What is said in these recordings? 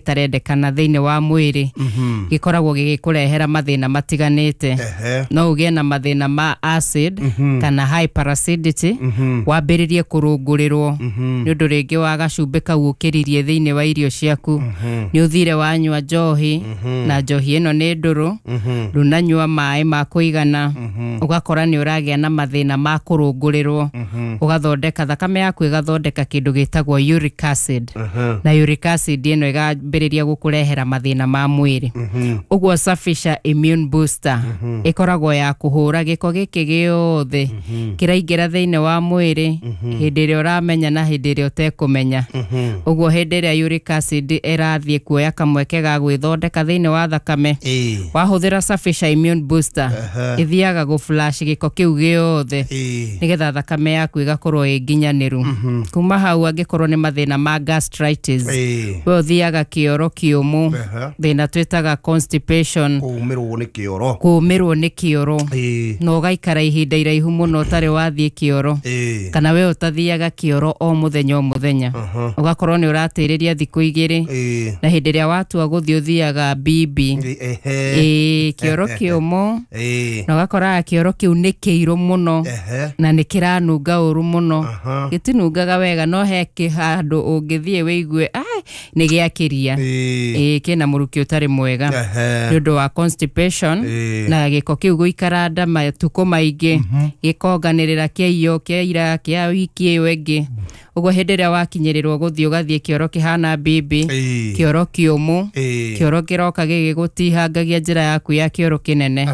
gĩtarendekana thĩinĩ wa mwĩrĩ gĩkoragwo gĩgĩkũrehera mathĩna matiganĩte. No ũgĩe na mathĩna ma acid kana hyperacidity, wambĩrĩrie kũrũngũrĩrwo nĩ ũndũ rĩngĩ wa gacumbĩ kau ũkĩririe thĩinĩ wa irio ciaku. Nĩ ũthire wanyua njohi, na njohi ĩno nĩ ndũrũ, ndũnanyua maĩ ma kũigana, ũgakora nĩ ũragĩa na mathĩna ma kũrũngũrĩrwo, ũgathondeka thakame yaku ĩgathondeka kĩndũ gĩtagwo uric acid, na uric acid ĩno ĩgambĩrĩria gũkũrehera mathĩna ma mwĩrĩ. Ũguo Safisha Immune Booster ĩkoragwo ya kũhũra gĩko gĩkĩ gĩothe kĩraingĩra thĩinĩ wa mwĩrĩ hĩndĩ ĩrĩa ũramenya na hĩndĩ ĩrĩa ũtekũmenya. Ũguo hĩndĩ ĩrĩa uric acid ĩrathiĩ kuoya kamweke ga gwĩthondeka thĩinĩ wa thakame, wahũthĩra Safisha Immune Booster ĩthiaga gũ flush gĩko kĩu gĩothe nĩgetha thakame yaku ĩgakorwo ĩ nginyanĩru. Kuma hau, angĩkorwo nĩ mathĩna ma gastritis, we ũthiaga kĩoro kĩũmũ, thĩna twĩtaga constipation, Kũũmĩrwo nĩ kĩoro. Kũũmĩrwo nĩ kĩoro, na ũgaikara ihinda iraihu mũno ũtarĩ wathiĩ kĩoro, kana we ũtathiaga kĩoro o mũthenya o mũthenya, ũgakorwo nĩ ũratĩrĩria thikũ 2, na hĩndĩ ĩrĩa watua gũthiĩ ũthiaga bibi, ĩĩ, kĩoro kĩũmũ, na ũgakoraga kĩoro kĩu nĩ kĩirũ mũno na nĩ kĩranunga ũru mũno. Gĩtinungaga wega, no he handũ ũngĩthiĩ wĩigue ai nĩ gĩakĩria, ĩĩ, kĩna mũrukĩ ũtarĩ mwega nĩ ũndũ wa constipation na gĩko kĩu gũikara nda matukũ maingĩ, gĩkonganĩrĩra kĩa iyo, kĩa ira, kĩa wiki ĩyo ĩngĩ. Ũguo hĩndĩ ĩrĩa wakinyĩrĩrwo gũthiĩ, ũgathiĩ kĩoro kĩhana bibi, kĩoro kĩũmũ, kĩoro kĩroka gĩgĩgũtihangagia njĩra yaku ya kĩoro kĩnene.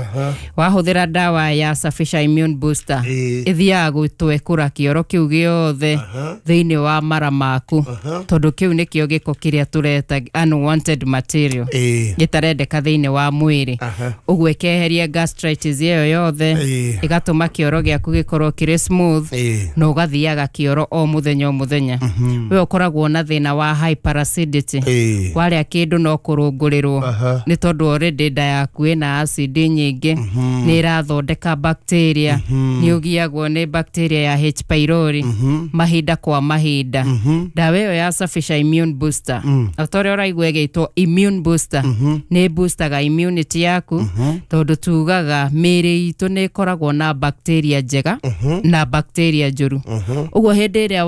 Wahũthĩra ndawa ya Safisha Immune Booster, ĩthiaga gũtwekũra kĩoro kĩu gĩothe thĩinĩ wa mara maku, tondũ kĩu nĩkĩo gĩko kĩrĩa tũreta unwanted material gĩtarendeka thĩinĩ wa mwĩrĩ. Ũguo ĩkeheria gastritis ĩyo yothe, ĩgatũma kĩoro gĩaku gĩkorwo kĩrĩ smooth na ũgathiaga kĩoro o mũthenya o mũthenya. We ũkoragwo na thĩna wa hyperacidity, warĩa kĩndũ no kũrũngũrĩrwo, nĩ tondũ already nda yaku ĩna acid nyingĩ, nĩ ĩrathondeka bacteria, nĩ ũgiagwo nĩ bacteria ya H pylori mahinda kwa mahinda. Ndawa ĩyo ya Safisha Immune Booster, o ta ũrĩa ũraigua ĩgĩtwo immune booster, nĩ boostaga immunity yaku, tondũ tugaga mĩĩrĩ itũ nĩ ĩkoragwo na bacteria njega na bacteria njũru. Ũguo hĩndĩ ĩrĩa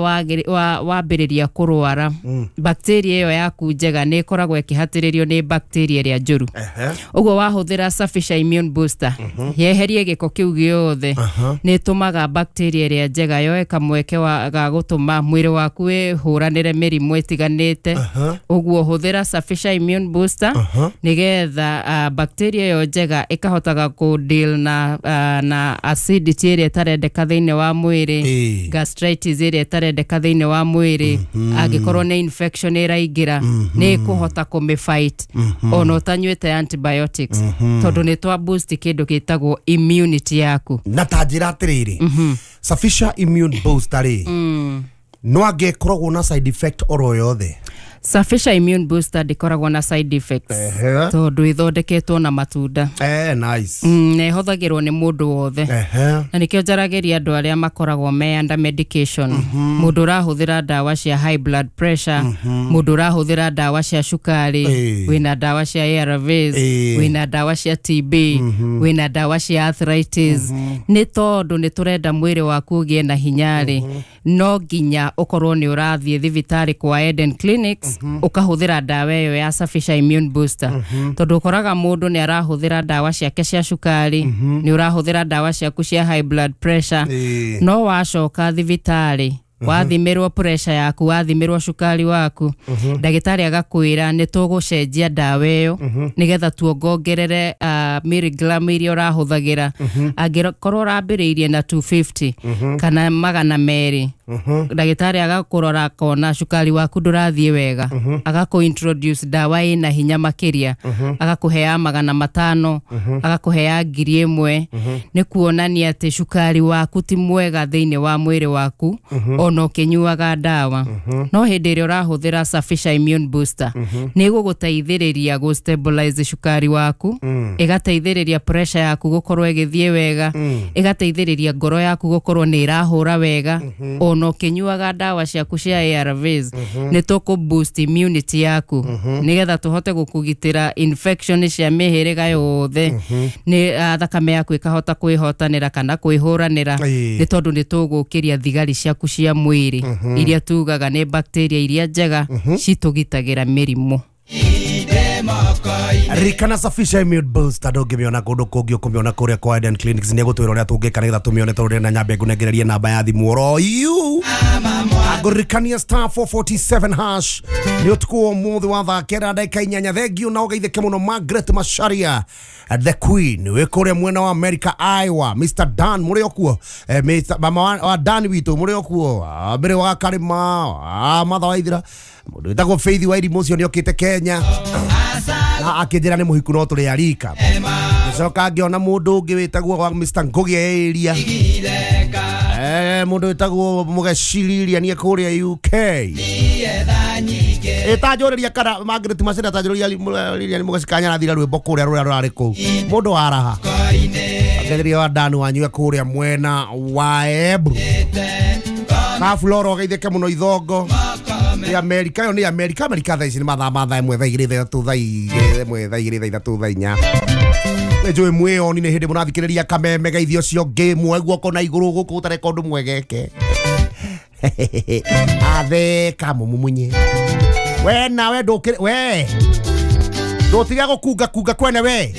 wambĩrĩria kũrwara, bacteria ĩyo yaku njega nĩ ĩkoragwo ĩkĩhatĩrĩrio nĩ bacteria ĩrĩa njũru. Ũguo wahũthĩra Safisha Immune Booster yeherie gĩko kĩu gĩothe, nĩ ĩtũmaga bacteria ĩrĩa njega yoe kamweke ga gũtũma mwĩrĩ waku wĩhũranĩre mĩrimũ ĩtiganĩte. Ũguo hũthĩra Safisha Immune Booster nĩgetha bacteria ĩyo njega ĩkahotaga kũ deal na acidity ĩrĩa ĩtarendeka thĩinĩ wa mwĩrĩ, gastritis ĩrĩa ĩtarendeka thĩinĩ wa mwĩrĩ. Angĩkorwo nĩ infection ĩraingĩra, nĩ ĩkũhota kũmĩ fight ona ũtanyuĩte antibiotics, tondũ nĩ twa boost kĩndũ gĩtagwo immunity yaku. Na ta njĩra atĩrĩrĩ, Safisha Immune Booster rĩ, no angĩkoragwo na side effect oro yothe? Safisha Immune Booster ndĩkoragwo na side effects, tondũ ĩthondeketwo na matunda. Nice. Na ĩhũthagĩrwo nĩ mũndũ wothe, na nĩkĩo njaragĩria andũ arĩa makoragwo me under medication, mũndũ ũrahũthĩra ndawa cia high blood pressure, mũndũ ũrahũthĩra ndawa cia cukari, wĩna ndawa cia ARVs, wĩna ndawa cia TB, wĩna ndawa cia arthritis. Nĩ tondũ nĩ tũrenda mwĩrĩ waku ũgĩe na hinya rĩ, no nginya ũkorwo nĩ ũrathiĩ thibitarĩ kwa Eden Clinics ũkahũthĩra ndawa ĩyo ya Safisha Immune Booster, tondũ ũkoraga mũndũ nĩ arahũthĩra ndawa ciake cia cukari, nĩ ũrahũthĩra ndawa ciaku cia high blood pressure, no wacoka thibitarĩ, wathimĩrwo pressure yaku, wathimĩrwo cukari waku, ndagĩtarĩ agakwĩra nĩ tũgũcenjia ndawa ĩyo nĩgetha tuongongerere milligram iria ũrahũthagĩra. Angĩkorwo ũrambĩrĩirie na 250 kana 200, ndagĩtarĩ agakũrora akona cukari waku ndũrathiĩ wega, agakũ introduce ndawa ĩna hinya makĩria, agakũhea 500, agakũhea 1000. Nĩ kuonania atĩ cukari waku ti mwega thĩinĩ wa mwĩrĩ waku ona ũkĩnyuaga ndawa. No hĩndĩ ĩrĩa ũrahũthĩra Safisha Immune Booster, nĩ ĩgũgũteithĩrĩria gũ stabilize cukari waku, ĩgateithĩrĩria pressure yaku gũkorwo ĩgĩthiĩ wega, ĩgateithĩrĩria ngoro yaku gũkorwo nĩ ĩrahũra wega ona. Ona ũkĩnyuaga ndawa ciaku cia ARVs, nĩ tũkũ boost immunity yaku nĩgetha tũhote gũkũgitĩra infection cia mĩhĩrĩga yothe, nĩ thakame yaku ĩkahota kwĩhotanĩra kana kwĩhũranĩra, nĩ tondũ nĩ tũgũkĩria thigari ciaku cia mwĩrĩ iria tugaga nĩ bacteria iria njega citũgitagĩra mĩrimũ. Ririkana Safisha Immune Booster ndũngĩmĩona kũndũ kũngĩ, ũkũmĩona kũrĩa kwa Eden Clinics. Nĩ egũtwĩra ũrĩa tũngĩka nĩgetha tũmĩone, tondũ ndĩrenda nyambe ngũnengererie namba ya thimũ oro yu. Ngũririkania star 447 hash nĩ ũtukũ wa ũmũthĩ wa thaa 9:08. Thengiũ na ũgeithĩke mũno Margaret Macharia the Queen wĩ kũrĩa mwena wa America, Iowa. Mr Dan mũrĩ o kuo, Mr. mama wa Dan witũ mũrĩ o kuo, mbere wa Karĩma, Martha Waithira, mũndũ wĩtagwo Faith wa Irimũ ũcio nĩokĩte Kenya na akĩnjĩra nĩ mũhiku no tũrĩ arika. Ngĩcoka ngĩona mũndũ ũngĩ wĩtagwo wa Mr Ngugi area, mũndũ wĩtagwo Mũgeciriria niĩ kũrĩa UK. Ĩtanjũrĩria kana Margaret Macharia tanjũrĩria Lilian Mũgeci arathira rwĩmbo kũrĩa rũrĩa rũrarĩ kũu mũndũ wa raha agetheria wa Dan wanyue kũrĩa mwena wa Embu. Kafuloro geithĩke mũno ithongo nĩ Amerika, ĩyo nĩ Amerika. Amerika thaa ici nĩ mathaa ma thaa 1 thaa 2 thaa 3 thaa 1 thaa 2 thaa 3 thaa 4. Nĩ njũĩ mwĩoni nĩ hĩndĩ mũrathikĩrĩria kameme geithio ũcio ũngĩ muoe guoko na igũrũ gũkũ ũtareka ũndũ mwegeke atheka mũmumunye we nawe ndũkĩrĩ we ndũtige gũkunga kunga kwene we.